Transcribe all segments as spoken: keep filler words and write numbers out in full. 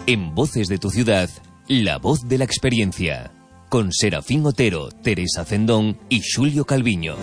En Voces de tu Ciudad, la voz de la experiencia. Con Serafín Otero, Teresa Cendón y Xulio Calviño.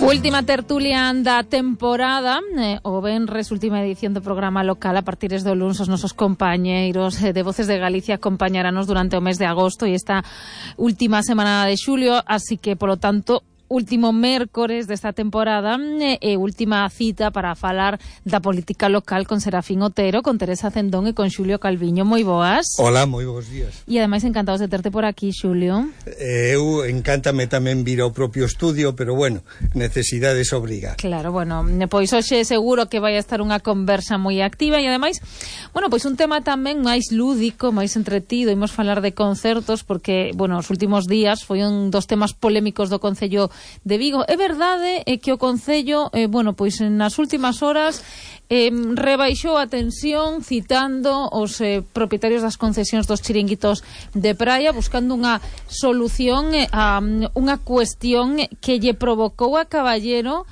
Última tertulia da temporada, eh, o venres, última edición do programa local. A partir do luns os nosos compañeiros eh, de Voces de Galicia acompañaranos durante o mes de agosto e esta última semana de xulio, así que, polo tanto, último mércores desta temporada e eh, última cita para falar da política local con Serafín Otero, con Teresa Cendón e con Xulio Calviño. Moi boas. Hola, moi bons días. E ademais encantados de terte por aquí, Xulio. Eh, eu encántame tamén vir ao propio estudio, pero bueno, necesidades obriga. Claro, bueno, pois hoxe seguro que vai a estar unha conversa moi activa e ademais, bueno, pois un tema tamén máis lúdico, máis entretido. Imos falar de concertos porque, bueno, os últimos días foi un dos temas polémicos do Concello de Vigo. É verdade é que o Concello, eh, bueno, pois nas últimas horas eh, rebaixou a tensión citando os eh, propietarios das concesións dos chiringuitos de praia, buscando unha solución eh, a unha cuestión que lle provocou a Caballero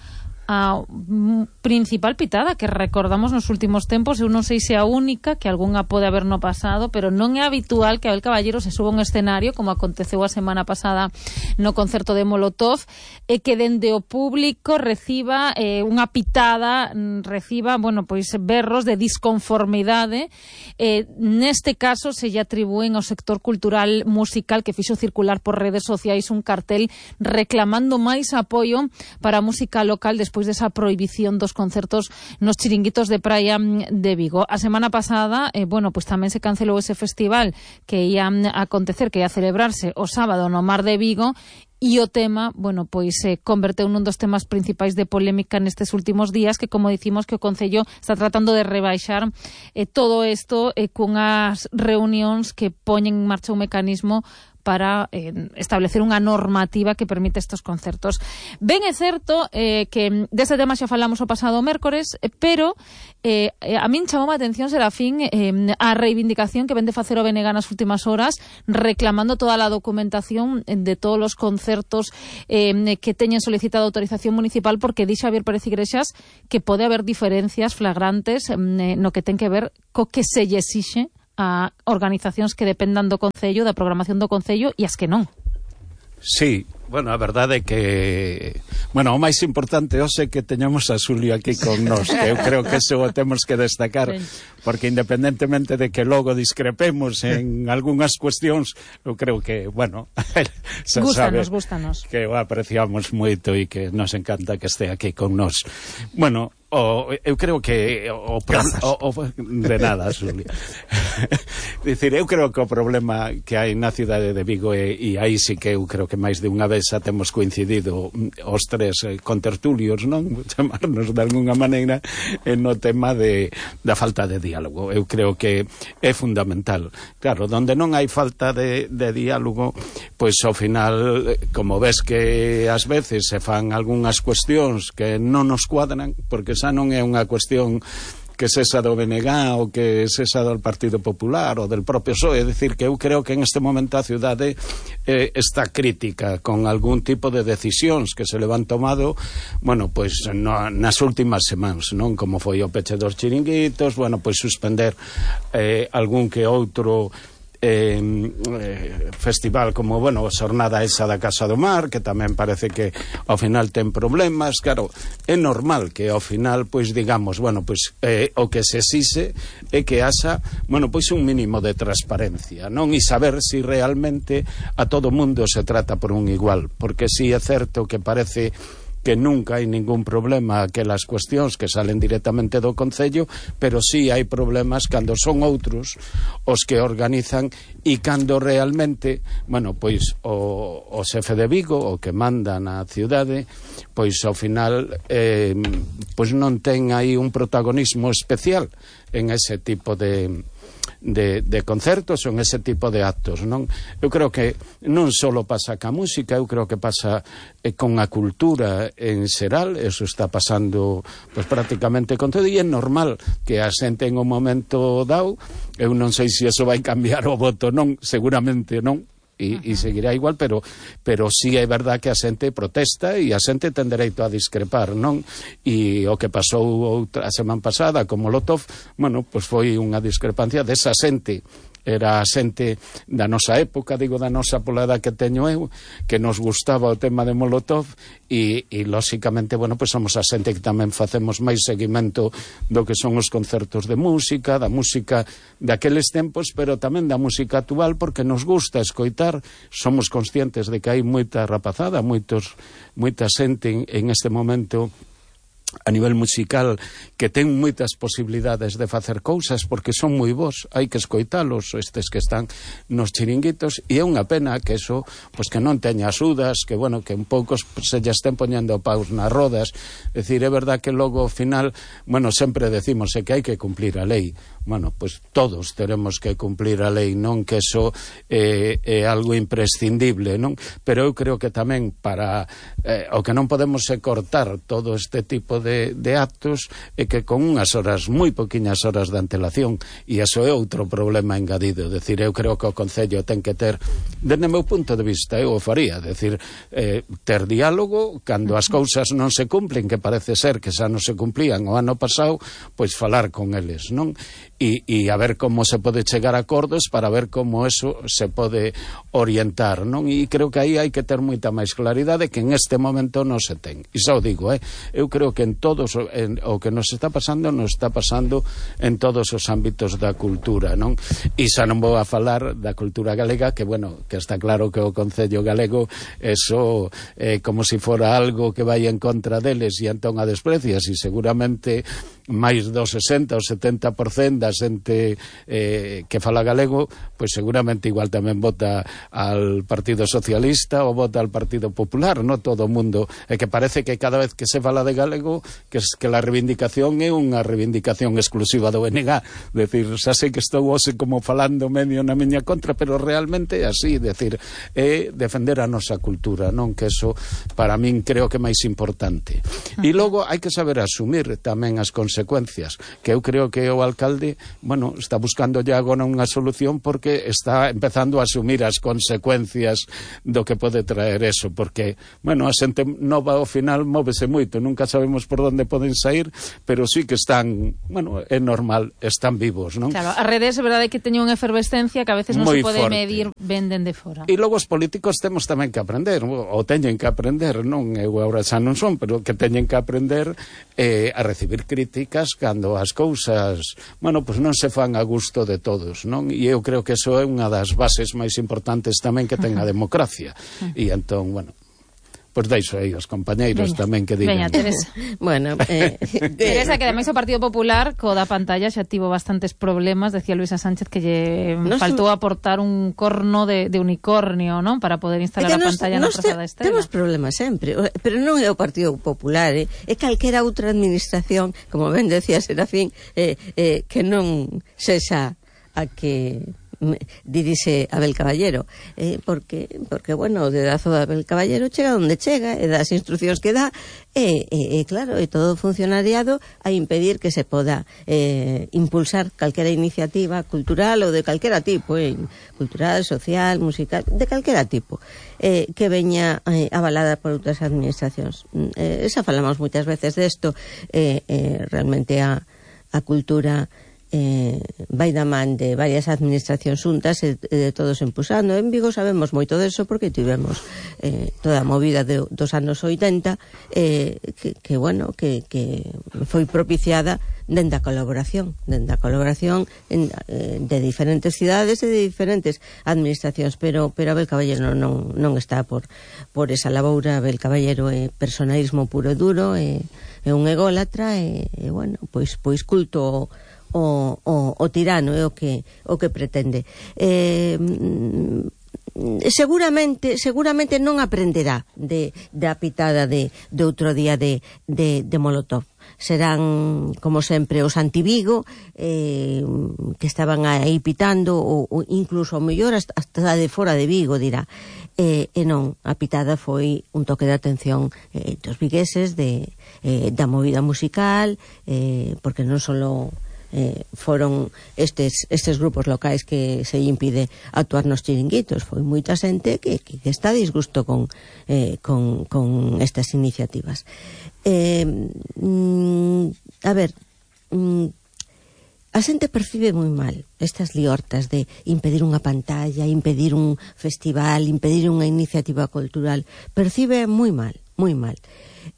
a principal pitada que recordamos nos últimos tempos. Eu non sei se a única, que algunha pode haber no pasado, pero non é habitual que Abel Caballero se suba a un escenario, como aconteceu a semana pasada no concerto de Molotov, e que dende o público reciba eh, unha pitada, reciba, bueno, pois berros de disconformidade. Eh, neste caso se lle atribúen ao sector cultural musical, que fixo circular por redes sociais un cartel reclamando máis apoio para a música local despois desa prohibición dos concertos nos chiringuitos de praia de Vigo. A semana pasada, eh, bueno, pues tamén se cancelou ese festival que ia a acontecer, que ia a celebrarse o sábado no Mar de Vigo, e o tema, bueno, pois se eh, converteu nun dos temas principais de polémica nestes últimos días, que, como dicimos, que o Concello está tratando de rebaixar eh, todo isto eh, cunhas reunións que poñen en marcha un mecanismo para eh, establecer unha normativa que permite estes concertos. Ben é certo eh, que deste tema xa falamos o pasado mércores, eh, pero eh, a min chamou a atención, Serafín, eh, a reivindicación que vende facer o B N G nas últimas horas, reclamando toda a documentación de todos os concertos eh, que teñen solicitado autorización municipal, porque dixe Javier Pérez Iglesias que pode haber diferencias flagrantes eh, no que ten que ver co que se lle exixe a organizacións que dependan do Concello, da programación do Concello, e as que non. Sí, bueno, a verdade é que, bueno, o máis importante hoxe que teñamos a Xulio aquí con nós, que eu creo que eso o temos que destacar, sí, porque independentemente de que logo discrepemos en algunhas cuestións, eu creo que, bueno, se gústanos, sabe gústanos. Que o apreciamos moito e que nos encanta que este aquí con nós. Bueno, O, eu creo que o, o, o de nada, Xulio. Dicir, eu creo que o problema que hai na cidade de Vigo e, e aí sí que eu creo que máis de unha vez xa temos coincidido os tres eh, contertulios, non? Chamarnos de alguna maneira en no tema de, da falta de diálogo. Eu creo que é fundamental. Claro, donde non hai falta de, de diálogo, pois ao final, como ves que ás veces se fan algunhas cuestións que non nos cuadran, porque xa non é unha cuestión que sexa do B N G ou que sexa do Partido Popular ou del propio P S O E. É dicir, que eu creo que en este momento a cidade eh, está crítica con algún tipo de decisións que se le van tomado, bueno, pois no, nas últimas semanas, non? Como foi o peche dos chiringuitos, bueno, pois suspender eh, algún que outro Eh, eh, festival, como, bueno, a xornada esa da Casa do Mar, que tamén parece que ao final ten problemas. Claro, é normal que ao final, pois digamos, bueno, pois eh, o que se exixe é que haxa, bueno, pois un mínimo de transparencia, non? E saber si realmente a todo mundo se trata por un igual, porque si é certo que parece que nunca hai ningún problema aquelas cuestións que salen directamente do Concello, pero sí hai problemas cando son outros os que organizan e cando realmente, bueno, pois o, o xefe de Vigo, o que manda na cidade, pois ao final eh, pois non ten aí un protagonismo especial en ese tipo de De, de concertos ou en ese tipo de actos, non? Eu creo que non só pasa ca música, eu creo que pasa eh, con a cultura en xeral. Eso está pasando pues, prácticamente con todo, e é normal que a xente en un momento dado, eu non sei se eso vai cambiar o voto, non, seguramente non, e, e seguirá igual, pero pero sí é verdad que a xente protesta e a xente ten dereito a discrepar, non? E o que pasou outra a semana pasada con Molotov, bueno, pois foi unha discrepancia desa xente. Era a xente da nosa época, digo da nosa pola edad que teño eu, que nos gustaba o tema de Molotov e, e lóxicamente, bueno, pois somos a xente que tamén facemos máis seguimento do que son os concertos de música, da música daqueles tempos, pero tamén da música actual, porque nos gusta escoitar, somos conscientes de que hai moita rapazada, moitos, moita xente en, en este momento a nivel musical que ten moitas posibilidades de facer cousas porque son moi bons, hai que escoitalos estes que están nos chiringuitos e é unha pena que eso, pois que non teña axudas, que bueno, que un pouco se lle estén poñendo paus nas rodas. É dicir, é verdad que logo ao final, bueno, sempre decimos é que hai que cumplir a lei. Bueno, pois todos teremos que cumplir a lei, non que eso é, é algo imprescindible, non? Pero eu creo que tamén para eh, o que non podemos é cortar todo este tipo de, de actos é que con unhas horas, moi poquiñas horas de antelación, e iso é outro problema engadido. Decir, eu creo que o Concello ten que ter, desde o meu punto de vista, eu o faría, decir, eh, ter diálogo cando as cousas non se cumplen, que parece ser que xa non se cumplían o ano pasado, pois falar con eles, non? E, e a ver como se pode chegar a acordos para ver como eso se pode orientar, non? E creo que aí hai que ter moita máis claridade que en este momento non se ten. E xa o digo, eh? eu creo que en todos en, o que nos está pasando nos está pasando en todos os ámbitos da cultura, non? E xa non vou a falar da cultura galega, que bueno, que está claro que o Concello Galego eso é eh, como se si fora algo que vai en contra deles e entón a desprecias, e seguramente máis do sesenta ou setenta por cento da xente eh, que fala galego, pois seguramente igual tamén vota al Partido Socialista ou vota al Partido Popular, non todo o mundo, é que parece que cada vez que se fala de galego que, que la reivindicación é unha reivindicación exclusiva do B N G, decir, xa sei que estou hoxe como falando medio na miña contra, pero realmente é así, decir, é defender a nosa cultura, non? Que eso para min creo que é máis importante. E logo hai que saber asumir tamén as consecuencias, que eu creo que o alcalde, bueno, está buscando ya agora unha solución porque está empezando a asumir as consecuencias do que pode traer eso, porque, bueno, a xente nova ao final móvese moito, nunca sabemos por onde poden sair, pero sí que están, bueno, é normal, están vivos, non? Claro, as redes é verdade que teñen unha efervescencia que a veces non Moi se pode forte. medir, venden de fora. E logo os políticos temos tamén que aprender, ou teñen que aprender, non? Eu agora xa non son, pero que teñen que aprender eh, a recibir críticas cando as cousas, bueno, pois non se fan a gusto de todos, non? E eu creo que eso é unha das bases máis importantes tamén que ten a democracia. E entón, bueno, pois deixo aí os compañeiros veña, tamén que digan. Veña, Teresa. Bueno, eh, Teresa, que ademais o Partido Popular co da pantalla xa tivo bastantes problemas, decía Luisa Sánchez que lle no faltou se... aportar un corno de, de unicornio, non? Para poder instalar a pantalla na Praza da Estrela. Temos problemas sempre, pero non é o Partido Popular, eh? É calquera outra administración, como ben decía Serafín, eh, eh, que non sexa a que dirixe Abel Caballero, eh, porque, porque bueno, o dedazo de Abel Caballero chega onde chega e das instruccións que dá e, e, e claro, e todo funcionariado a impedir que se poda eh, impulsar calquera iniciativa cultural ou de calquera tipo, eh, cultural, social, musical, de calquera tipo, eh, que veña eh, avalada por outras administracións. Eh, esa falamos moitas veces desto, eh, eh, realmente a, a cultura Eh, vai da man de varias administracións xuntas e de todos empusando. En Vigo sabemos moito deso porque tivemos eh, toda a movida de, dos anos oitenta eh, que, que, bueno, que, que foi propiciada dende a colaboración dende a colaboración en, eh, de diferentes cidades e de diferentes administracións, pero, pero Abel Caballero non, non está por, por esa laboura. Abel Caballero é personalismo puro e duro, é, é un ególatra e, e bueno, pois, pois culto O, o, o tirano é o que o que pretende. Eh, seguramente seguramente non aprenderá de da pitada de, de outro día de, de, de Molotov. Serán, como sempre, os anti-Vigo eh, que estaban aí pitando ou, ou incluso, ao mellor, hasta, hasta de fora de Vigo, dirá. Eh, e non, a pitada foi un toque de atención eh, dos vigueses de, eh, da movida musical, eh, porque non solo eh, foron estes, estes grupos locais que se impide actuar nos chiringuitos. Foi moita xente que, que, que está a disgusto con, eh, con, con estas iniciativas. Eh, mm, a ver, mm, a xente percibe moi mal estas liortas de impedir unha pantalla, impedir un festival, impedir unha iniciativa cultural. Percibe moi mal, moi mal.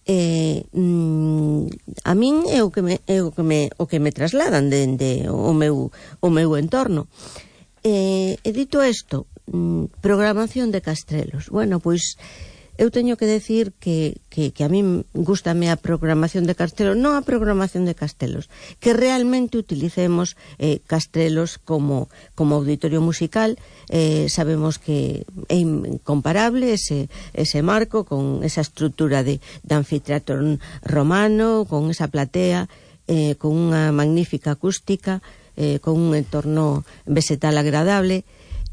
Eh, mm, a min é o que me, é o que me, o que me trasladan dende o meu, o meu entorno. Eh, e dito isto, mm, programación de Castrelos. Bueno, pois eu teño que decir que, que, que a min gústame a programación de Castrelos, non a programación de Castelos, que realmente utilicemos eh, Castrelos como, como auditorio musical. Eh, sabemos que é incomparable ese, ese marco con esa estrutura de, de anfiteatro romano, con esa platea, eh, con unha magnífica acústica, eh, con un entorno vegetal agradable.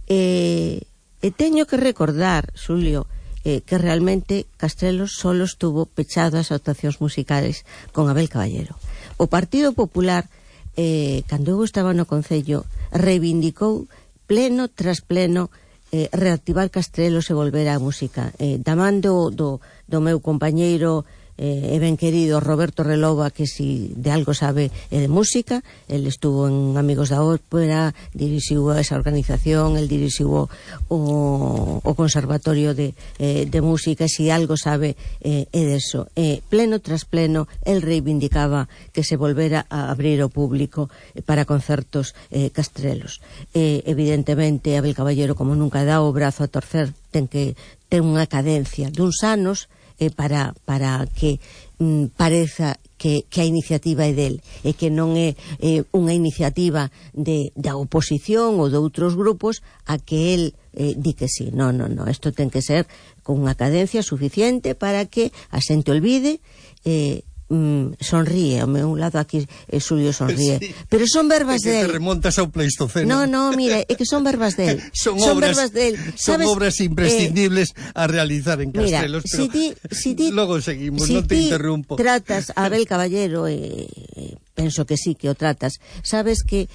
Eh, e teño que recordar, Xulio, Eh, que realmente Castrelos solo estuvo pechado ás actuacións musicales con Abel Caballero. O Partido Popular, eh, cando eu estaba no Concello, reivindicou pleno tras pleno eh, reactivar Castrelos e volver á música. Eh, da man do, do, do meu compañeiro eh, e ben querido Roberto Relova, que si de algo sabe eh, de música. El estuvo en Amigos da Ópera, dirixiu esa organización, el dirixiu o, o, o Conservatorio de, eh, de Música, e si algo sabe eh, é deso. Eh, pleno tras pleno, el reivindicaba que se volvera a abrir ao público eh, para concertos eh, Castrelos. Eh, evidentemente, Abel Caballero, como nunca dá o brazo a torcer, ten que ter unha cadencia duns anos Eh, para, para que mm, pareza que, que a iniciativa é del e que non é eh, unha iniciativa de, da oposición ou de outros grupos a que el eh, di que sí. Non, non, non, isto ten que ser con unha cadencia suficiente para que a xente olvide. eh, Mm, sonríe, ao meu lado aquí eh, Xulio sonríe, sí, pero son verbas de del. Te remontas ao Pleistoceno. No, no, mira, é que son verbas del. son, son obras, verbas del. Son obras imprescindibles eh, a realizar en Castelos, mira, pero si ti, si ti, logo seguimos, si non te ti interrumpo. Tratas a Abel Caballero, eh, eh, penso que sí que o tratas. Sabes que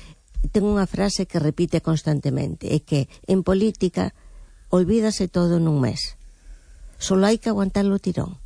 ten unha frase que repite constantemente, é que en política olvídase todo nun mes. Solo hai que aguantarlo tirón.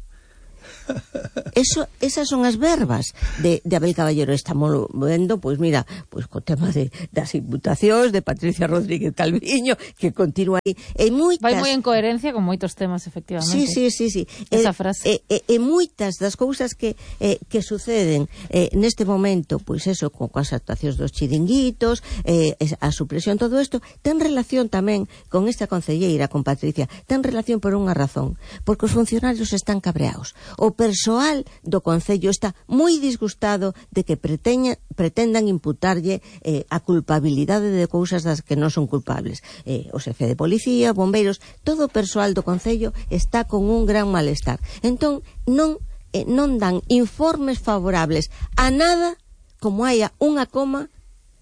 Eso, esas son as verbas de, de Abel Caballero. Estamos vendo, pois mira, pois co tema de, das imputacións de Patricia Rodríguez Calviño, que continúa aí. E moitas... Vai moi en coherencia con moitos temas, efectivamente. Sí, sí, sí, sí. Esa e, frase. E, e, e moitas das cousas que, eh, que suceden eh, neste momento, pois eso, con as actuacións dos chiringuitos, eh, a supresión, todo isto, ten relación tamén con esta concelleira, con Patricia, ten relación por unha razón, porque os funcionarios están cabreados. O persoal do Concello está moi disgustado de que preteña, pretendan imputarlle eh, a culpabilidade de cousas das que non son culpables. Eh, o xefe de policía, bombeiros, todo o persoal do Concello está con un gran malestar. Entón, non, eh, non dan informes favorables a nada como haya unha coma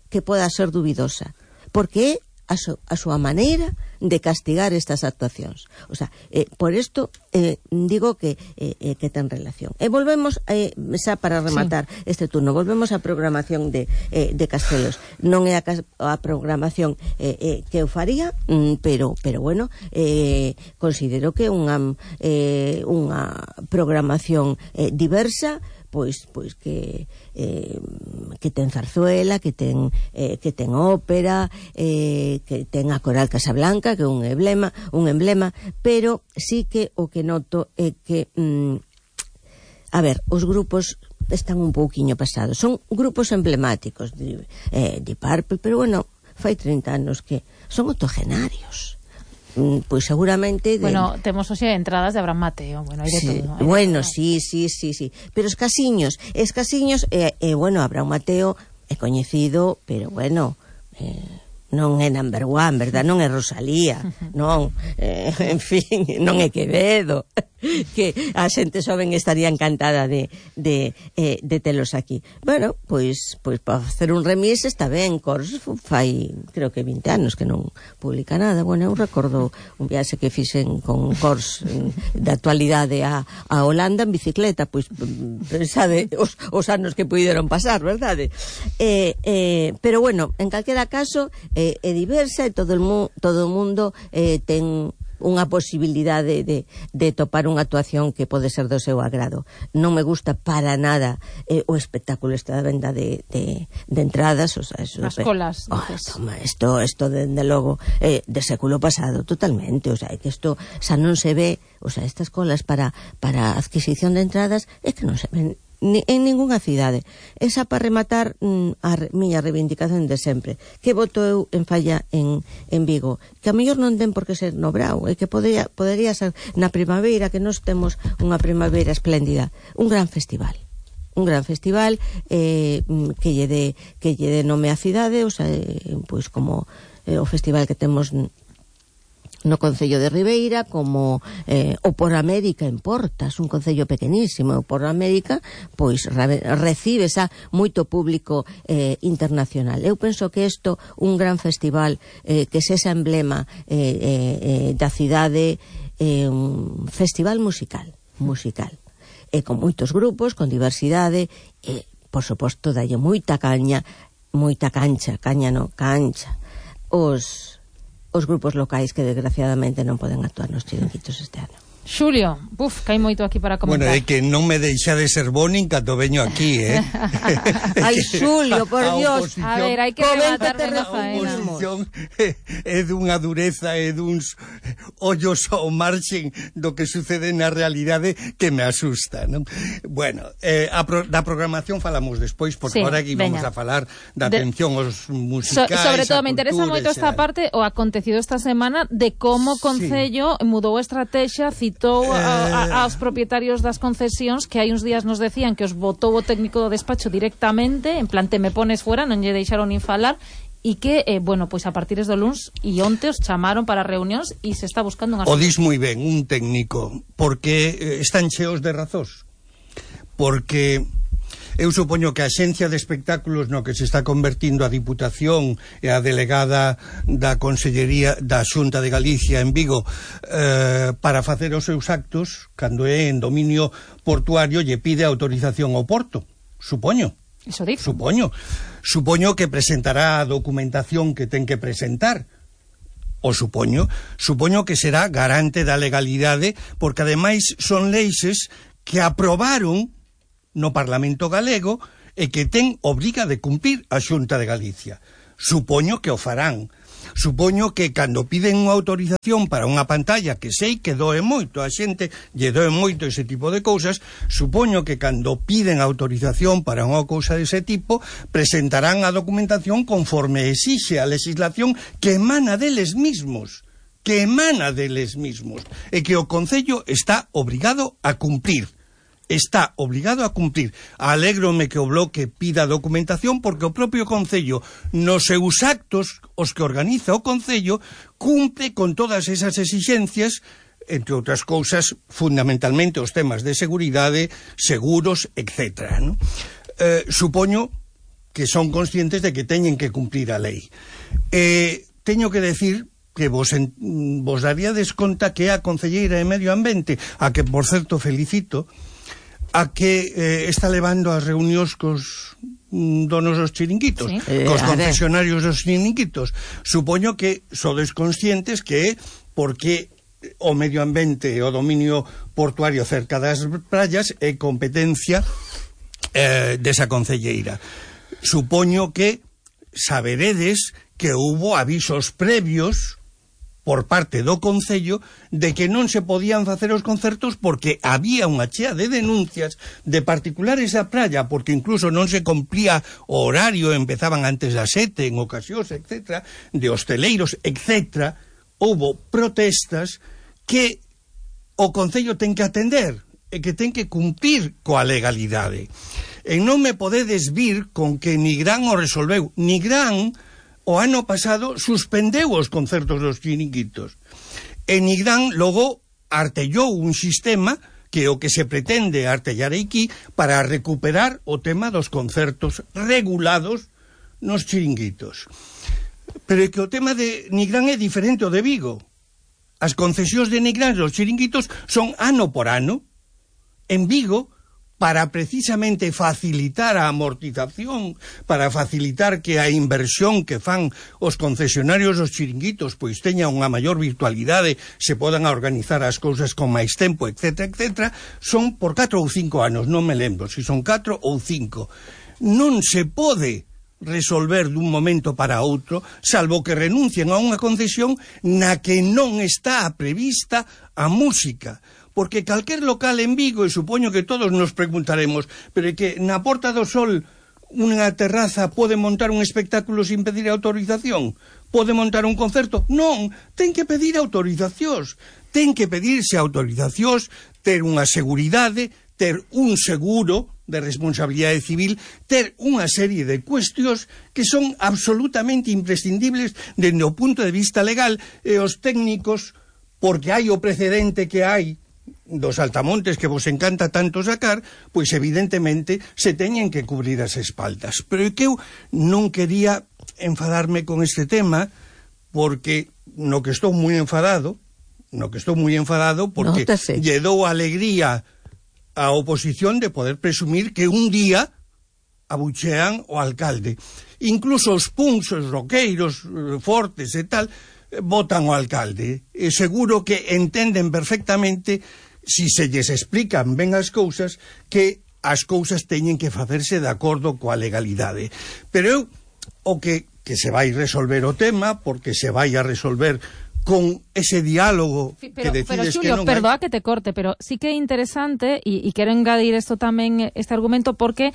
que poda ser dubidosa, porque é a, so, a súa maneira de castigar estas actuacións. O sea, eh, por isto eh, digo que, eh, eh, que ten relación. E volvemos, eh, xa para rematar sí. este turno, volvemos á programación de, eh, de Castelos. Non é a, a programación eh, eh, que eu faría, mm, pero, pero bueno, eh, considero que unha, eh, unha programación eh, diversa, pois pois que eh, que ten zarzuela, que ten eh, que ten ópera, eh, que ten a Coral Casablanca, que é un emblema, un emblema, pero sí que o que noto é que mm, a ver, os grupos están un pouquiño pasados. Son grupos emblemáticos de, eh, de Purple, pero bueno, fai trinta anos que son octogenarios. Pois pues seguramente de... Bueno, temos hoxe entradas de Abraham Mateo. Bueno, hai de sí, todo. Hai bueno, de todo. sí, sí, sí, sí. Pero escasiños, escasiños, e eh, eh, bueno, Abraham Mateo é coñecido, pero bueno, eh, non é number one, verdad? Non é Rosalía, non, eh, en fin, non é Quevedo. que a xente xoven estaría encantada de, de, eh, de telos aquí. Bueno, pois, pois para facer un remis está ben. Cors fai, creo que vinte anos que non publica nada. Bueno, eu recordo un viaxe que fixen con Cors de actualidade a, a Holanda en bicicleta, pois pensade os, os anos que puideron pasar, verdade? Eh, eh, pero bueno, en calquera caso eh, é diversa e todo o mu, todo o mundo eh, ten unha posibilidade de, de topar unha actuación que pode ser do seu agrado. Non me gusta para nada eh, o espectáculo esta venda de, de, de entradas, o sea, eso, as colas. Oh, toma, esto, esto de, de logo eh, de século pasado totalmente, o sea, que isto xa non se ve, o sea, estas colas para, para adquisición de entradas é que non se ven ni, en ningunha cidade. Esa para rematar mm, a re, miña reivindicación de sempre, que voto eu en falla en, en Vigo, que a mellor non ten por que ser no Brao, e que podería, podería ser na primavera, que nós temos unha primavera espléndida, un gran festival un gran festival eh, que lle de, que lle de nome a cidade, o sea, eh, pois como eh, o festival que temos no Concello de Ribeira, como eh, o Por América en Portas, un concello pequenísimo. O Por América pois re, recibe xa moito público eh, internacional. Eu penso que isto, un gran festival eh, que sexa emblema eh, eh, eh, da cidade, eh, un festival musical musical e con moitos grupos, con diversidade e, por suposto, dalle moita caña, moita cancha, caña no, cancha os os grupos locais que desgraciadamente non poden actuar nos chiringuitos este ano. Xulio, buf, que hai moito aquí para comentar. Bueno, é que non me deixa de ser bo nin cando veño aquí, eh? Ai, Xulio, por Dios. A ver, hai que rematar de la faena. A oposición é dunha dureza e duns ollos ao marxen do que sucede na realidade que me asusta, non? Bueno, eh, a pro, da programación falamos despois, porque sí, agora aquí vamos a falar da de, atención aos musicais, so, sobre todo me interesa moito esta parte, o acontecido esta semana, de como o Concello sí. mudou a estrategia, citou a, a, aos propietarios das concesións, que hai uns días nos decían que os votou o técnico do despacho directamente, en plan te me pones fuera, non lle deixaron nin falar, e que, eh, bueno, pois a partir do luns e onte os chamaron para reunións e se está buscando unha... O dis moi ben, un técnico, porque eh, están cheos de razóns, porque eu supoño que a Axencia de Espectáculos no que se está convertindo a Diputación e a delegada da Consellería da Xunta de Galicia en Vigo eh, para facer os seus actos, cando é en dominio portuario, lle pide autorización ao porto, supoño. Eso dixo. Supoño. Supoño que presentará a documentación que ten que presentar. O supoño. Supoño que será garante da legalidade, porque ademais son leixes que aprobaron no Parlamento galego e que ten obriga de cumprir a Xunta de Galicia. Supoño que o farán. Supoño que cando piden unha autorización para unha pantalla, que sei que doe moito, a xente lle doe moito ese tipo de cousas, supoño que cando piden autorización para unha cousa dese tipo, presentarán a documentación conforme exixe a legislación que emana deles mismos, que emana deles mismos, e que o Concello está obrigado a cumprir. Está obligado a cumplir. Alégrome que o Bloque pida documentación, porque o propio Concello, nos seus actos, os que organiza o Concello, cumpre con todas esas exixencias, entre outras cousas, fundamentalmente os temas de seguridade, seguros, etcétera, ¿no? Eh, supoño que son conscientes de que teñen que cumplir a lei. Eh, teño que decir que vos, en, vos daríades conta que a Concelleira de Medio Ambiente, a que, por certo, felicito, a que eh, está levando as reunións cos mm, donos dos chiringuitos, sí. cos eh, concesionarios dos chiringuitos. Supoño que sodes conscientes que porque o medio ambiente e o dominio portuario cerca das praias é competencia eh, desa concelleira. Supoño que saberedes que hubo avisos previos por parte do Concello de que non se podían facer os concertos porque había unha chea de denuncias de particulares da praia, porque incluso non se cumplía o horario, empezaban antes das sete en ocasións, etcétera, de hosteleiros, etcétera. Houbo protestas que o Concello ten que atender e que ten que cumprir coa legalidade. E non me podedes vir con que Nigrán o resolveu. Nigrán o ano pasado suspendeu os concertos dos chiringuitos. E Nigrán logo artellou un sistema que é o que se pretende artellar aquí para recuperar o tema dos concertos regulados nos chiringuitos. Pero é que o tema de Nigrán é diferente ao de Vigo. As concesións de Nigrán dos chiringuitos son ano por ano. En Vigo, para precisamente facilitar a amortización, para facilitar que a inversión que fan os concesionarios dos chiringuitos pois teña unha maior virtualidade, se podan organizar as cousas con máis tempo, etcétera, etcétera, son por catro ou cinco anos, non me lembro se son catro ou cinco. Non se pode resolver dun momento para outro, salvo que renuncien a unha concesión na que non está prevista a música. Porque calquer local en Vigo, e supoño que todos nos preguntaremos, pero é que na Porta do Sol unha terraza pode montar un espectáculo sin pedir autorización? Pode montar un concerto? Non, ten que pedir autorizacións. Ten que pedirse autorizacións, ter unha seguridade, ter un seguro de responsabilidade civil, ter unha serie de cuestións que son absolutamente imprescindibles dende o punto de vista legal, e os técnicos, porque hai o precedente que hai dos altamontes que vos encanta tanto sacar, pois evidentemente se teñen que cubrir as espaldas. Pero é que eu non quería enfadarme con este tema, porque no que estou moi enfadado, no que estou moi enfadado, porque Nótase. lle dou alegría a oposición de poder presumir que un día abuchean o alcalde. Incluso os punks, os roqueiros fortes e tal, votan o alcalde. E seguro que entenden perfectamente, si se lles explican ben as cousas, que as cousas teñen que facerse de acordo coa legalidade. Pero eu, o que, que se vai resolver o tema, porque se vai a resolver con ese diálogo pero, que decides pero, Xulio, que non perdoa hai... que te corte, pero sí que é interesante, e, e quero engadir isto tamén, este argumento, porque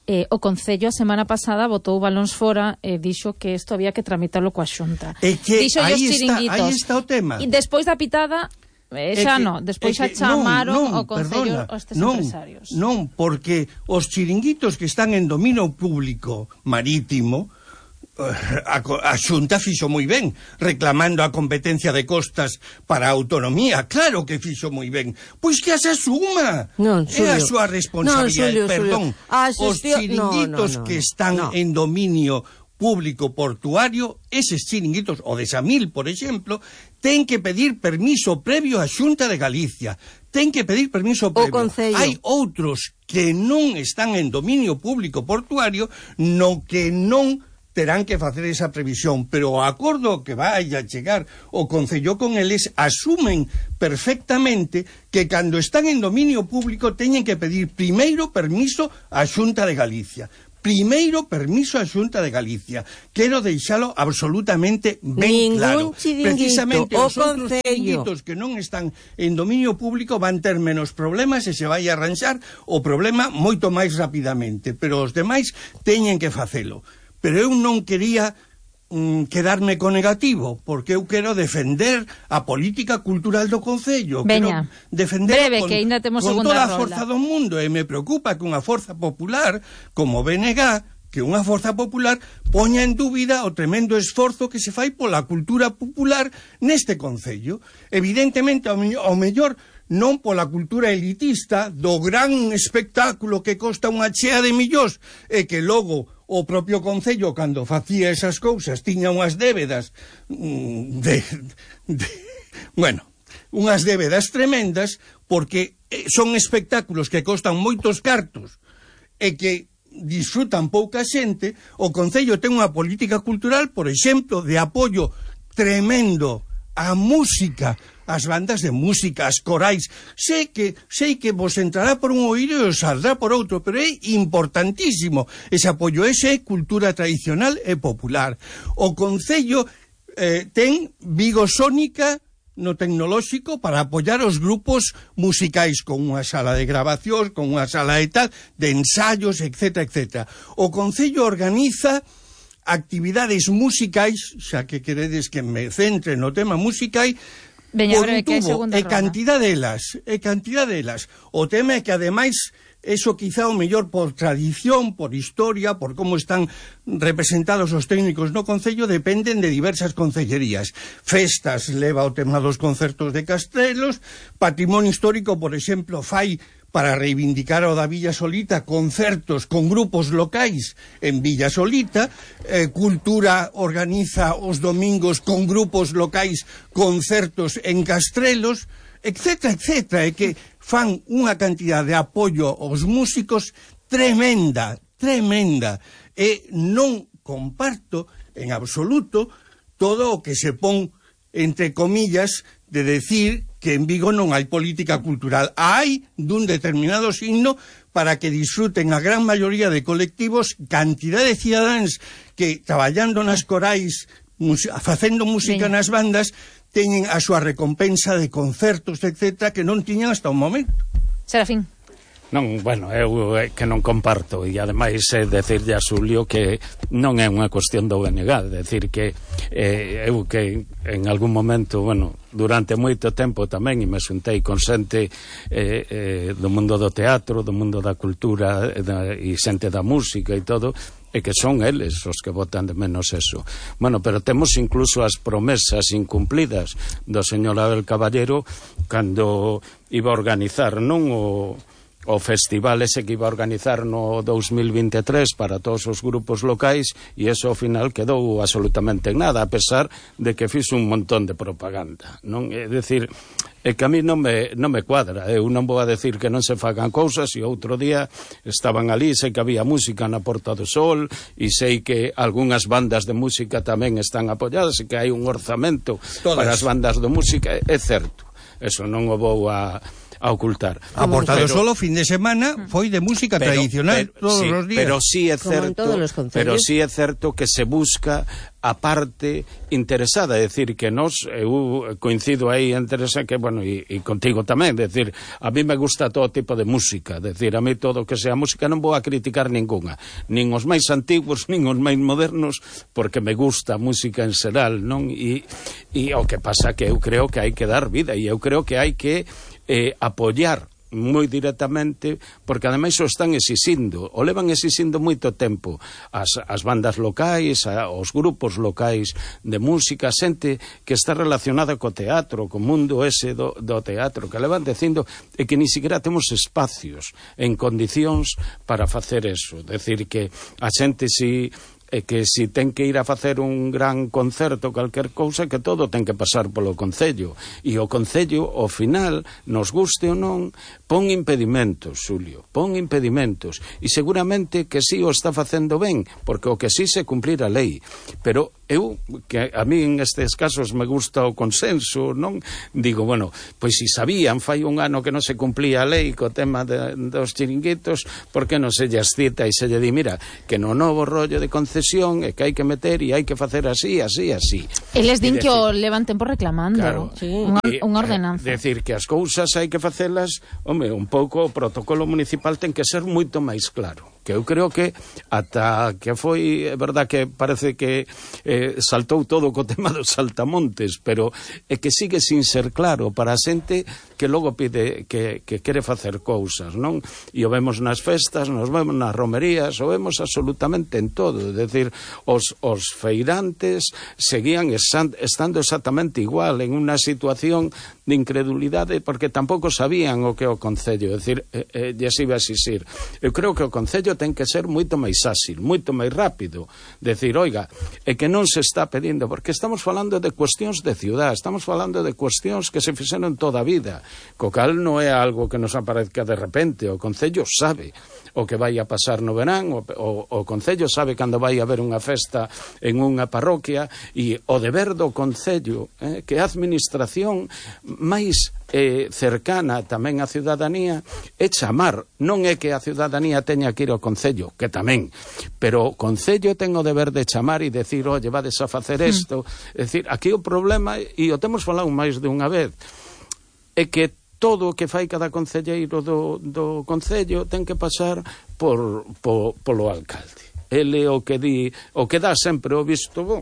Eh, o Concello a semana pasada botou balóns fora e dixo que isto había que tramitarlo coa Xunta. É que Dixo aí os está, chiringuitos. aí está o tema. E despois da pitada, eh, xa non, despois xa chamaron non, non, o Concello perdona, estes non, empresarios. Non, porque os chiringuitos que están en dominio público marítimo, a, a Xunta fixo moi ben reclamando a competencia de costas para a autonomía, claro que fixo moi ben, pois que as asuma, non, é a súa responsabilidade. Non, Xulio, perdón, Xulio. os chiringuitos no, no, no, que están no. en dominio público portuario, eses chiringuitos, o de Samil, por exemplo, ten que pedir permiso previo á Xunta de Galicia, ten que pedir permiso previo. Hai outros que non están en dominio público portuario, no que non terán que facer esa previsión, pero o acordo que vai a chegar o Concello con eles asumen perfectamente que cando están en dominio público teñen que pedir primeiro permiso á Xunta de Galicia. Primeiro permiso á Xunta de Galicia. Quero deixalo absolutamente ben Ningún claro. Precisamente o os outros Concello. chiringuitos que non están en dominio público van ter menos problemas e se vai a arranxar o problema moito máis rapidamente, pero os demais teñen que facelo. Pero eu non quería mm, quedarme con negativo, porque eu quero defender a política cultural do Concello. Veña, quero defender breve, con, que ainda temos con segunda toda a rolda. forza do mundo, e me preocupa que unha forza popular como B N G, que unha forza popular poña en dúbida o tremendo esforzo que se fai pola cultura popular neste Concello. Evidentemente, ao, ao mellor non pola cultura elitista do gran espectáculo que costa unha chea de millóns e que logo o propio Concello, cando facía esas cousas, tiña unhas débedas mm, de, de, bueno, unhas débedas tremendas, porque son espectáculos que costan moitos cartos e que disfrutan pouca xente. O Concello ten unha política cultural, por exemplo, de apoio tremendo á música, as bandas de música, as corais. Sei que sei que vos entrará por un oído e os saldrá por outro, pero é importantísimo ese apoio. Ese é cultura tradicional e popular. O Concello eh, ten Vigo Sónica no tecnolóxico para apoiar os grupos musicais, con unha sala de grabacións, con unha sala de tal, de ensayos, etcétera, etcétera. O Concello organiza actividades musicais, xa que queredes que me centre no tema musical, Veña, por un que hai tubo, segunda e ronda. cantidad delas, e cantidad delas. O tema é que, ademais, eso quizá o mellor por tradición, por historia, por como están representados os técnicos no Concello, dependen de diversas concellerías. Festas leva o tema dos concertos de Castrelos, patrimonio histórico, por exemplo, fai para reivindicar o da Villa Solita concertos con grupos locais en Villa Solita, eh, Cultura organiza os domingos con grupos locais concertos en Castrelos, etcétera, etcétera, e que fan unha cantidad de apoio aos músicos tremenda, tremenda, e non comparto en absoluto todo o que se pon entre comillas de decir que en Vigo non hai política cultural. Hai dun determinado signo para que disfruten a gran maioría de colectivos, cantidad de cidadáns que traballando nas corais, facendo música Veña. nas bandas, teñen a súa recompensa de concertos, etcétera, que non tiñan hasta o momento. Serafín. Non, bueno, eu é que non comparto, e ademais é decirlle a Xulio que non é unha cuestión do B N G, decir que eh, eu que en algún momento, bueno, durante moito tempo tamén, e me xuntei con xente eh, eh, do mundo do teatro, do mundo da cultura e, da, e xente da música e todo, e que son eles os que votan de menos eso. Bueno, pero temos incluso as promesas incumplidas do señor Abel Caballero cando iba a organizar non o o festival ese que iba a organizar no dous mil vinte e tres para todos os grupos locais, e eso ao final quedou absolutamente en nada, a pesar de que fixo un montón de propaganda, non? É dicir, é que a mí non me, non me cuadra, eu non vou a decir que non se fagan cousas, e outro día estaban ali, sei que había música na Porta do Sol, e sei que algunhas bandas de música tamén están apoiadas, e que hai un orzamento Todas. para as bandas de música, é certo, eso non o vou a a ocultar. A Porta do Pero- Sol o fin de semana foi de música Pero- tradicional pero- todos sí, os días. Pero sí é Como en certo, todos los concellos. pero sí é certo que se busca a parte interesada, é dicir, que nós, eu coincido aí entre esa que, bueno, e, e contigo tamén, é dicir, a mí me gusta todo tipo de música, é dicir, a mí todo que sea música non vou a criticar ninguna, nin os máis antigos, nin os máis modernos, porque me gusta a música en xeral, non? E, e o que pasa que eu creo que hai que dar vida, e eu creo que hai que eh, apoiar moi directamente, porque ademais o están exixindo, o levan exixindo moito tempo as, as bandas locais, a, os grupos locais de música, xente que está relacionada co teatro, co mundo ese do, do teatro, que levan dicindo e que ni siquiera temos espacios en condicións para facer eso, decir que a xente si e que se ten que ir a facer un gran concerto, calquer cousa, que todo ten que pasar polo Concello, e o Concello, ao final, nos guste ou non, pon impedimentos, Xulio, pon impedimentos, e seguramente que sí o está facendo ben, porque o que sí se cumplir a lei, pero eu, que a mí en estes casos me gusta o consenso, non? Digo, bueno, pois se sabían fai un ano que non se cumplía a lei co tema de, dos chiringuitos, por que non se lles cita e se lle di, mira, que no novo rollo de concesión é que hai que meter e hai que facer así, así, así. Eles din E que decir, o levan tempo reclamando. Claro, Sí. Unha, e, unha eh, ordenanza. decir que as cousas hai que facelas, home, un pouco o protocolo municipal ten que ser moito máis claro, que eu creo que ata que foi, é verdad que parece que eh, saltou todo co tema dos saltamontes, pero é que sigue sin ser claro para a xente que logo pide que, que quere facer cousas, non? E o vemos nas festas, nos vemos nas romerías, o vemos absolutamente en todo, é dicir, os, os feirantes seguían esan, estando exactamente igual en unha situación de incredulidade porque tampouco sabían o que é o Concello, é dicir, eh, eh, lles iba a exixir. Eu creo que o Concello ten que ser moito máis áxil, moito máis rápido, decir, oiga, é que non se está pedindo, porque estamos falando de cuestións de ciudad, estamos falando de cuestións que se fixeron toda a vida, co cal non é algo que nos aparezca de repente, o Concello sabe o que vai a pasar no verán, o, o, o Concello sabe cando vai haber unha festa en unha parroquia, e o deber do Concello, eh, que a administración máis eh, cercana tamén á ciudadanía é chamar, non é que a ciudadanía teña que ir ao Concello, que tamén, pero o Concello ten o deber de chamar e decir, oye, vades a facer isto, mm. é dicir, aquí o problema, e o temos falado máis de unha vez, é que todo o que fai cada concelleiro do, do Concello ten que pasar por, por, polo alcalde. Ele o que di, o que dá sempre o visto bo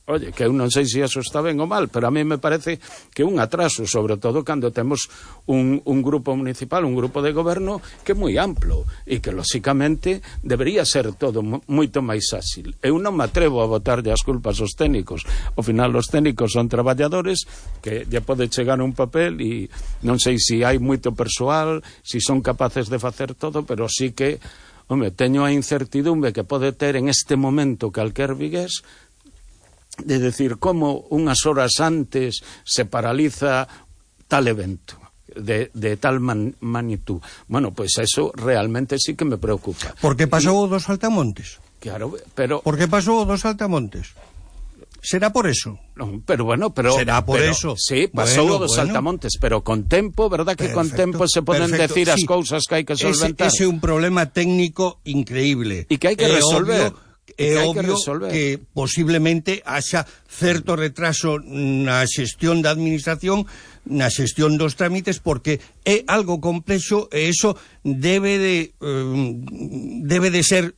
Oye, que eu non sei se iso está ben ou mal, pero a mí me parece que un atraso, sobre todo cando temos un, un grupo municipal, un grupo de goberno que é moi amplo e que, lóxicamente, debería ser todo moito máis áxil. Eu non me atrevo a botarlle as culpas aos técnicos. Ao final, os técnicos son traballadores que lle pode chegar un papel e non sei se hai moito persoal, se son capaces de facer todo, pero sí que, home, teño a incertidumbre que pode ter en este momento calquer vigués de decir como unhas horas antes se paraliza tal evento de, de tal man, magnitud. Bueno, pois pues eso realmente sí que me preocupa. Por que pasou o dos Saltamontes? Claro, pero... Por que pasou o dos Saltamontes? Será por eso. No, pero bueno, pero... Será por pero, eso. Sí, pasou bueno, o dos bueno. Saltamontes, pero con tempo, verdad que perfecto, con tempo se poden perfecto. decir as sí. cousas que hai que solventar. Ese é un problema técnico increíble. E que hai que é resolver. Obvio, é que obvio que, que posiblemente haxa certo retraso na xestión da administración, na xestión dos trámites, porque é algo complexo e iso debe de eh, debe de ser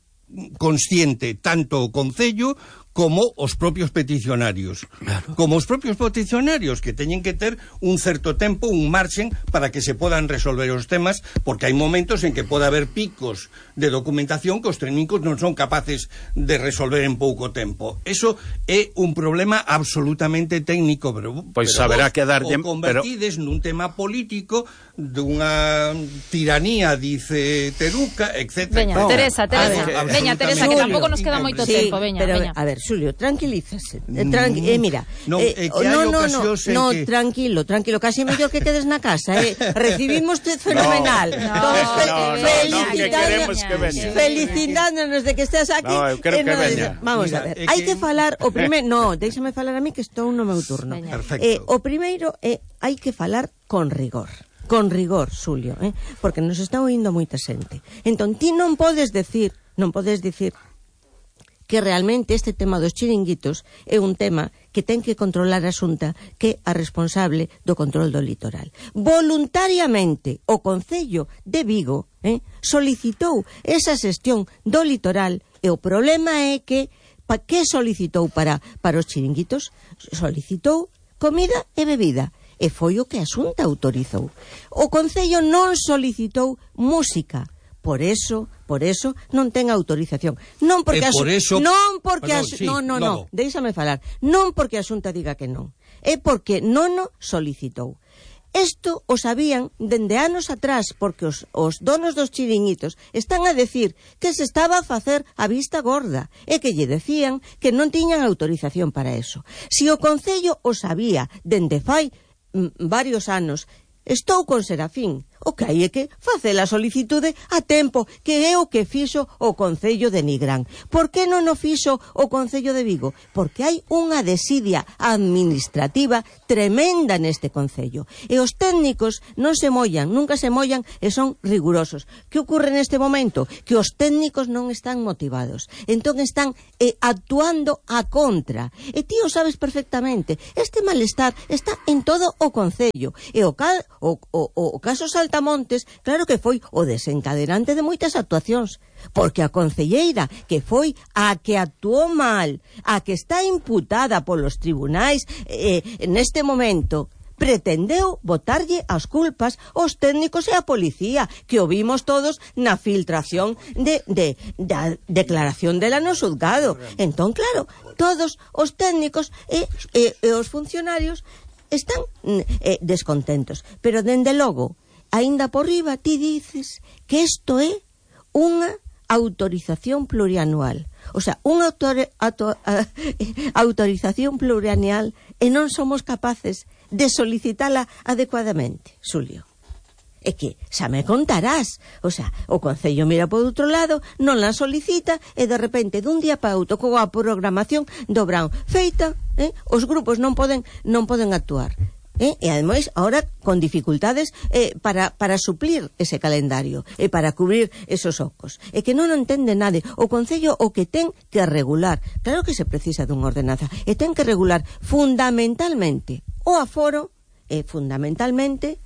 consciente tanto o Concello como os propios peticionarios. Claro. Como os propios peticionarios, que teñen que ter un certo tempo, un marxen, para que se podan resolver os temas, porque hai momentos en que pode haber picos de documentación que os técnicos non son capaces de resolver en pouco tempo. Eso é un problema absolutamente técnico, pero, pois pero haberá vos que dar o convertides pero... nun tema político dunha tiranía, dice Teruca, etcétera. Veña, no, Teresa, Teresa, ver, veña, Teresa, que tampouco nos queda moito sí, tempo, veña, pero, veña. A ver, Xulio, tranquilízase. Tranqui eh, mira, no, eh, eh, que no, no, no, no, que... tranquilo, tranquilo, casi mellor que quedes na casa, eh. Recibimos fenomenal. No, Todos no, no, no, que queremos que veña. Felicitándonos de que estés aquí. No, eu creo eh, que no, veña. Vamos Mira, a ver, eh, hai que... que falar o primeiro, no, déixame falar a mí que estou no meu turno. Perfecto. Eh, o primeiro é eh, hai que falar con rigor. Con rigor, Xulio, eh? Porque nos está oindo moita xente. Entón, ti non podes decir, non podes dicir que realmente este tema dos chiringuitos é un tema que ten que controlar a Xunta, que é a responsable do control do litoral. Voluntariamente, o Concello de Vigo eh, solicitou esa xestión do litoral e o problema é que pa, que solicitou para, para os chiringuitos? Solicitou comida e bebida. E foi o que a Xunta autorizou. O Concello non solicitou música. Por eso, por eso non ten autorización. Non porque e a por eso... non porque Perdón, a sí, no, no, logo. no, déixame falar. Non porque a Xunta diga que non. É porque non o solicitou. Isto o sabían dende anos atrás, porque os, os donos dos chiringuitos están a decir que se estaba a facer a vista gorda e que lle decían que non tiñan autorización para eso. Si o Concello o sabía dende fai mm, varios anos, estou con Serafín. O que hai é que facer a solicitude a tempo, que é o que fixo o Concello de Nigrán. Por que non o fixo o Concello de Vigo? Porque hai unha desidia administrativa tremenda neste Concello. E os técnicos non se mollan, nunca se mollan e son rigurosos. Que ocorre neste momento? Que os técnicos non están motivados. Entón están eh, actuando a contra. E ti o sabes perfectamente. Este malestar está en todo o Concello. E o, cal, o, o, o caso Salta Montes, claro que foi o desencadenante de moitas actuacións, porque a concelleira que foi a que actuou mal, a que está imputada polos tribunais eh, neste momento, pretendeu botarlle as culpas aos técnicos e a policía, que o vimos todos na filtración de, de, da declaración dela no xulgado. Entón, claro, todos os técnicos e, e, e os funcionarios están eh, descontentos, pero dende logo aínda por riba ti dices que isto é unha autorización plurianual. O sea, unha autor, autor, uh, autorización plurianual e non somos capaces de solicitala adecuadamente, Xulio. É que xa me contarás. O sea, o Concello mira por outro lado, non la solicita e de repente dun día para outro coa programación do Brown feita, eh, os grupos non poden non poden actuar. Eh, e ademais ahora con dificultades eh, para, para suplir ese calendario e para cubrir esos ocos, e que non entende nade. O Concello o que ten que regular, claro que se precisa dunha ordenanza, e ten que regular fundamentalmente o aforo e fundamentalmente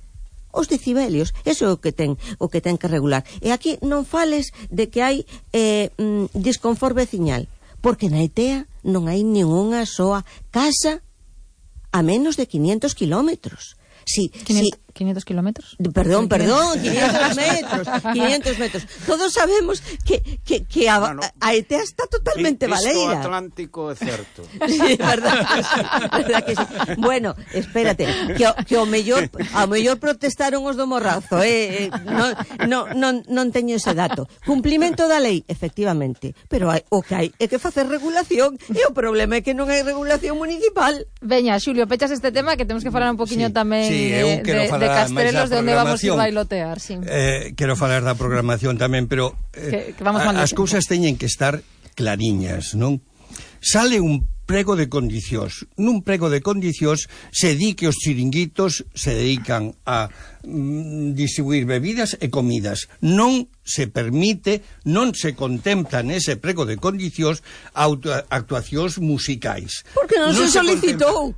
os decibelios. Eso é o que ten o que ten que regular. E aquí non fales de que hai eh, mm, disconfort veciñal, porque na E T E A non hai ninguna soa casa a menos de quinientos kilómetros. Si, quinientos, si, quinientos kilómetros? Perdón, perdón, quinientos metros, quinientos metros. Todos sabemos que, que, que a, bueno, a E T E A está totalmente baleira. Visto Atlántico é certo. Sí, verdad que sí, verdad que sí. Bueno, espérate, que, que o mellor, ao mellor protestaron os do Morrazo, eh, eh non, non, non, non teño ese dato. Cumplimento da lei, efectivamente, pero hai, o que hai é que facer regulación, e o problema é que non hai regulación municipal. Veña, Xulio, pechas este tema que temos que falar un poquinho sí, tamén sí, de, de, de Castrelos, de onde vamos ir bailotear, sí. Eh, quero falar da programación tamén, pero eh, que, que vamos a, as cousas teñen que estar clariñas, non? Sale un prego de condicións. Nun prego de condicións se di que os chiringuitos se dedican a mm, distribuir bebidas e comidas. Non se permite, non se contempla nese prego de condicións actuacións musicais. Porque non, non se solicitou.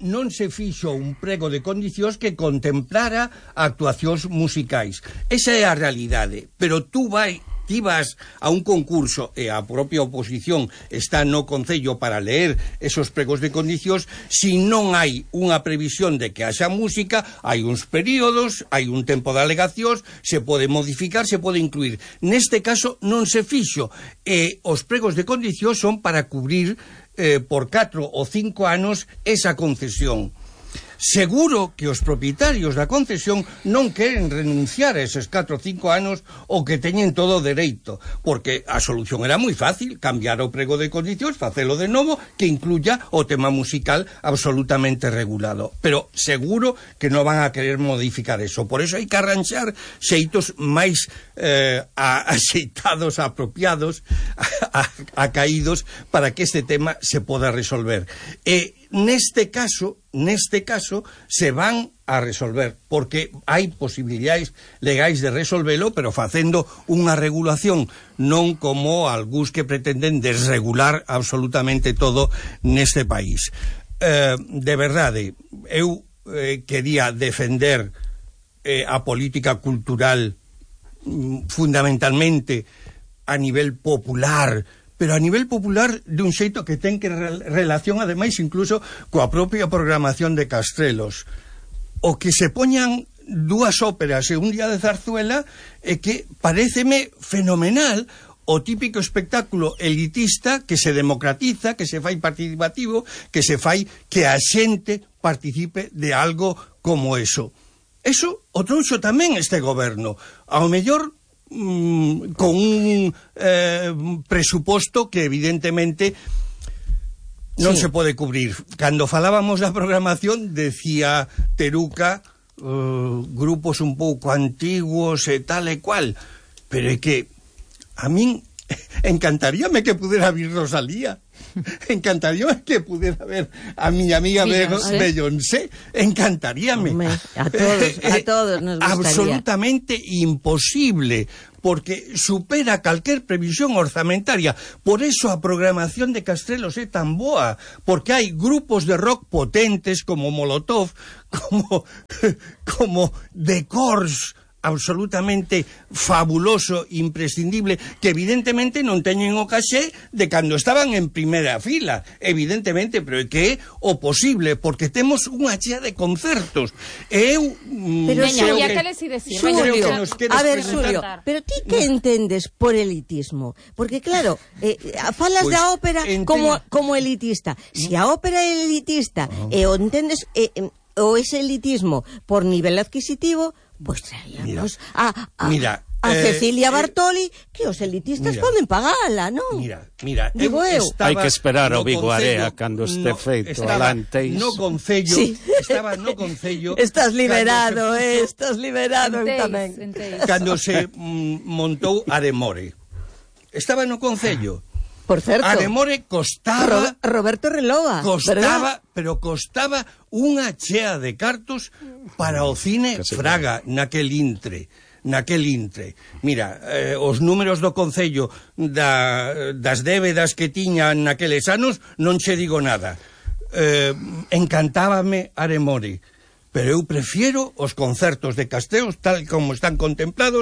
Non se fixo un prego de condicións que contemplara actuacións musicais. Esa é a realidade, pero tú vai ti vas a un concurso e a propia oposición está no Concello para leer esos pregos de condicións, si non hai unha previsión de que haxa música, hai uns períodos, hai un tempo de alegacións, se pode modificar, se pode incluir. Neste caso non se fixo, e os pregos de condicións son para cubrir eh, por catro ou cinco anos esa concesión. Seguro que os propietarios da concesión non queren renunciar a eses catro ou cinco anos o que teñen todo o dereito, porque a solución era moi fácil, cambiar o prego de condicións, facelo de novo, que incluya o tema musical absolutamente regulado. Pero seguro que non van a querer modificar eso. Por eso hai que arranxar xeitos máis eh, axeitados, apropiados, a, a, acaídos, para que este tema se poda resolver. E neste caso, neste caso, se van a resolver, porque hai posibilidades legais de resolvelo, pero facendo unha regulación, non como algúns que pretenden desregular absolutamente todo neste país. Eh, de verdade, eu eh, quería defender eh, a política cultural mm, fundamentalmente a nivel popular, pero a nivel popular de un xeito que ten que re relación ademais incluso coa propia programación de Castrelos. O que se poñan dúas óperas e un día de zarzuela é que paréceme fenomenal o típico espectáculo elitista que se democratiza, que se fai participativo, que se fai que a xente participe de algo como eso. Eso o trouxo tamén este goberno. Ao mellor Mm, con un eh, presuposto que evidentemente non sí. se pode cubrir. Cando falábamos da programación, decía Teruca, uh, grupos un pouco antiguos e tal e cual, pero é que a min encantaríame que pudera vir Rosalía. Encantaríame que pudera ver a miña amiga Beyoncé. Beyoncé. Encantaríame. Hombre, a todos, a todos nos gustaría. Absolutamente imposible, porque supera calquer previsión orzamentaria. Por eso a programación de Castrelos é tan boa, porque hai grupos de rock potentes como Molotov, como como The Corrs, absolutamente fabuloso, imprescindible, que evidentemente non teñen o caxé de cando estaban en primeira fila, evidentemente, pero é que é o posible, porque temos unha chea de concertos. E eu... Pero veña, ya que les decir, Xulio, a ver, Xulio, pero ti que entendes por elitismo? Porque claro, eh, falas pues, da ópera ente... como, como elitista. Si a ópera é elitista oh. e o entendes eh, o ese elitismo por nivel adquisitivo, pois pues traíamos a, a, mira, a eh, Cecilia Bartoli, que os elitistas mira, poden pagala, non? Mira, mira, digo eu. Hai que esperar o Vigo Area cando este no, feito alanteis. No Concello, sí. estaba no Concello. Estás liberado, eh, estás liberado enteis, tamén. Enteis. Cando se mm, montou Aremore. Estaba no Concello. Por certo, Aremore costaba... Ro Roberto Relova, Costaba, ¿verdad? pero costaba unha chea de cartos para o cine Fraga naquel intre. Naquel intre. Mira, eh, os números do Concello da, das débedas que tiñan naqueles anos non che digo nada. Eh, encantábame Aremore, pero eu prefiero os concertos de Castelos tal como están contemplados